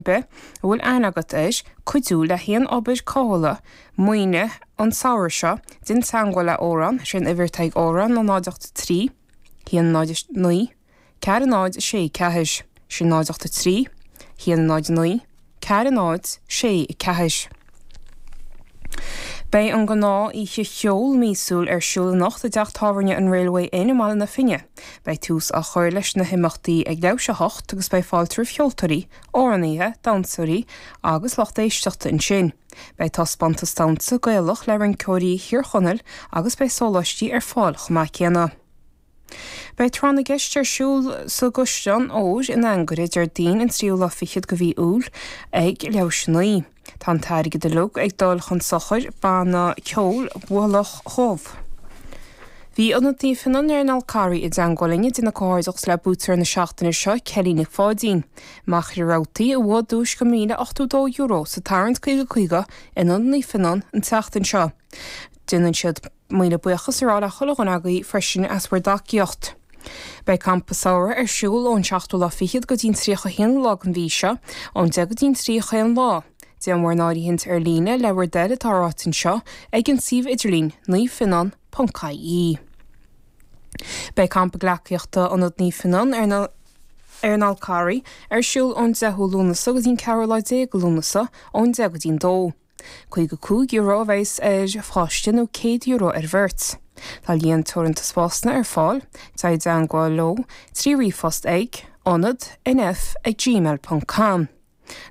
Bith a bhfuil aithne agat air cuidiú le haon obair cothabhála maoine an samhradh seo, déan teagmháil le Odhrán, sé an uimhir atá ag Odhrán ná 0 8 3 1 0 9 4 0 6 4. Sin 0 8 3 1 0 9 4 0 6 4. Beidh an gnáth oíche cheoil míosúil ar siúl anocht i dteach tábhairne an Railway Inn i mBaile na Finne. Beidh tús á chur leis na himeachtaí ag leathuair théis 8 agus beidh fáilte roimh cheoltóirí, amhránaithe, damhsóirí agus lucht éisteachta ansin. Beidh taispeántas damhsa Gaelach le rinceoirí Thír Chonaill agus beidh sóláistí ar fáil chomh maith céanna. Beidh Tráth na gCeist ar siúl sa gCaisleán Óir in Anagaire Déardaoin an tríú lá fichead de mhí Iúil ag leathuair théis 9. Tá an t-airgead uilig ag dul chun sochair Banna Ceoil Mhullach Dhubh. Bhí Ionad Naomh Fionán ar an Fhál Carraigh i dteangmháil linn ag déanamh comhghairdeachas le buaiteoir na seachtaine seo, Kelly Nic Pháidín, Machaire Rabhartaigh, a bhuaigh duais de €1,082 sa tarraingt 50 50 in Ionad Naomh Fionán an tseachtain seo. Déanann siad. Míle buíochas a rá le chuile dhuine agaibh freisin as bhur dtacaíocht. Beidh Campa Samhraidh ar siúl ón seachtú lá fichead go dtí an 31 lá den mhí seo, ón 10 go dtí an 3 chaon lá. Déan bhur n-áirithint ar líne le bhur dtoil atá ráite anseo ag an suíomh idirlín naomhfhionnán.ie. Beidh Campa Gleacaíochta Ionad Naomh Fionán ar na ar an Fhál Carraigh ar siúl ón 10ú Lúnasa go dtí an ceathrú lá déag de Lúnasa ón 10 go dtí an 2. €55 a bheas ar pháiste nó €100 ar bheirt. Tá líon teoranta spásanna ar fáil, téigh i dteangmháil leo trí ríomhphost ag, ionad, nf ag gmail ponc com.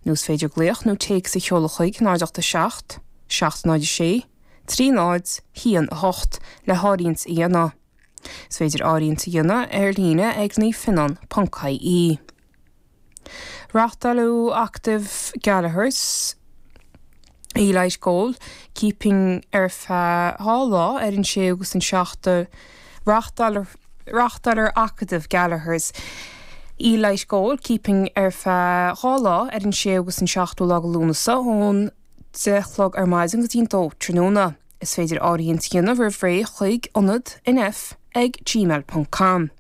Nó is féidir glaoch nó téacs a sheoladh chuig 0 8 7 7 0 6 3 0 1 8 le háirithint a dhéanamh. Is féidir áirithint a dhéanamh ar líne ag naomhfhionnán ponc ie. Reáchtáladh Acadamh Gallaghers Elite Goal Keeping ar feadh 2 lá ar an 6ú agus an 7ú Reáchtálar Acadamh Gallaghers Elite Goal Keeping ar feadh 2 lá ar an 6ú agus an 7ú lá de Lúnasa ón 10 a chlog ar maidin go dtí an 2 tráthnóna. Is féidir áirithint a dhéanamh roimh ré chuig ionad nf ag gmail ponc com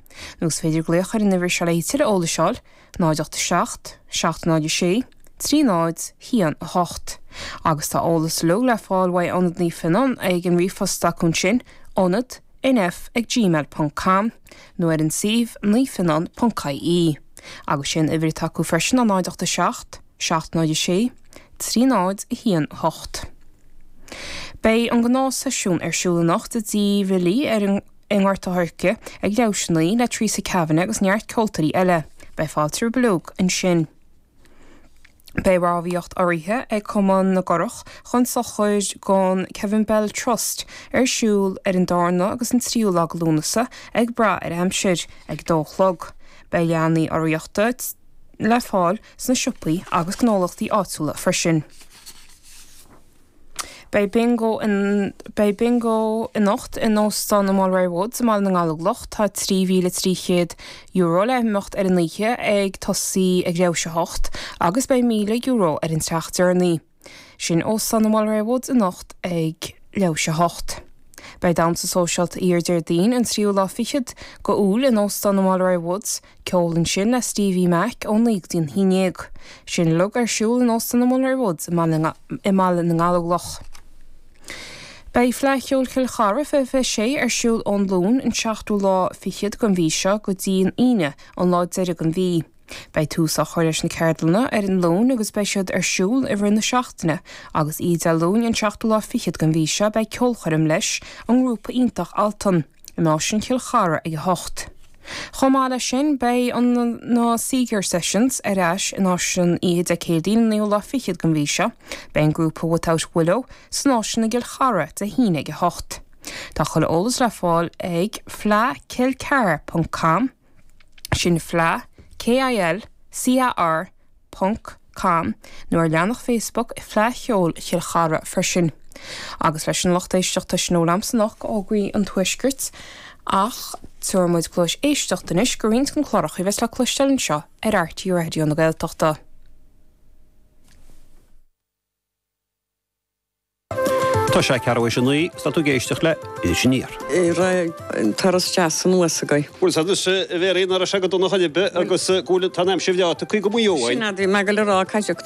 nó is féidir glaoch ar an uimhir seo le tuilleadh eolais a fháil, 0 8 7 7 0 6 3 0 1 8. Agus tá eolas uilig le fáil uaidh Ionad Naomh Fionnán ag an ríomhphost acu ansin, ionad nf ag gmail ponc com nó ar an suíomh naomhfhionnán ponc ie. Agus sé an uimhir atá acu freisin ná 0 8 7 7 0 6 3 0 1 8. Beidh an gnáthsheisiún ar siúl anocht i dTigh Bhilí ar an i nGort a' Choirce ag leathuair théis 9 le Teresa Kavanagh agus neart ceoltóirí eile. Beidh fáilte roimh uilig ansin. Beidh rámhaíocht urraithe ag Cumann na gCurach chun sochair don Kevin Bell Trust ar siúl ar an darna agus an tríú lá de Lúnasa ag brath ar aimsir, ag a dó a chlog. Beidh leathanaigh urraíochta le fáil sna siopaí agus gnólachtaí áitiúla freisin. Beidh Bingo Beidh Bingo anocht in Óstán an Mulroy Woods i mBaile na nGallóglach. Tá €3,300 le himeacht ar an oíche ag tosaí ag leathuair théis a hocht agus beidh €1,000 ar an teach deireanaí. Sin Óstán an Mulroy Woods anocht ag leathuair théis a hocht. Beidh damhsa sóisialta oíche Déardaoin an tríú lá fichead go Iúil in Óstán an Mulroy Woods. Ceol ansin le Stevie Mac ó 9 go dtí an 11. Sin uilig ar siúl in Óstán an Mulroy Woods i mBaile na nGallóglach. Beidh Fleadh Cheoil Chill Chartha 2026 ar siúl ón Luan an seachtú lá fichead den mhí seo go dtí an Aoine an lá deiridh den mhí. Beidh tús á chur leis na ceardlanna ar an Luan agus beidh siad ar siúl i rith na seachtaine agus oíche Dé Luain an seachtú lá fichead den mhí seo beidh ceolchoirm leis an ngrúpa iontach Altan. In Áislann Chill Chartha ag 8. Chomh maith leis sin, beidh an na Seeger Sessions ar ais in Áislann oíche Dé Céadaoin an naoú lá fichead den mhí seo. Beidh an grúpa Without Willow san Áislann i gCill Chartha Dé hAoine ag 8. Tá chuile eolas le fáil ag fleadhkilcar ponc com, sin fleadh, K-I-L, C-A-R, ponc com nó ar leathanach Facebook Fleadh Cheoil Chill Chartha freisin. Agus leis an lucht éisteachta sin ó liomsa anocht go fhógraí an Tuaiscirt ach tabharfaidh muid cluais éisteachta anois go roinnt den chláracha a bheas le cloisteáil anseo ar RTÉ Raidió na Gaeltachta. Tá sé ceathrú théis 9 is tá tú ag éisteacht le Iris Aniar. Raibh an turas deas anuas agaibh. Bhuel, sea anois, a Mhéirí, nach raibh sé go dona chor ar bith agus go bhfuil, tá an aimsir bhreá tugtha go Maigh Eo Sin é, bhí mé ag goil a rá, caithfidh.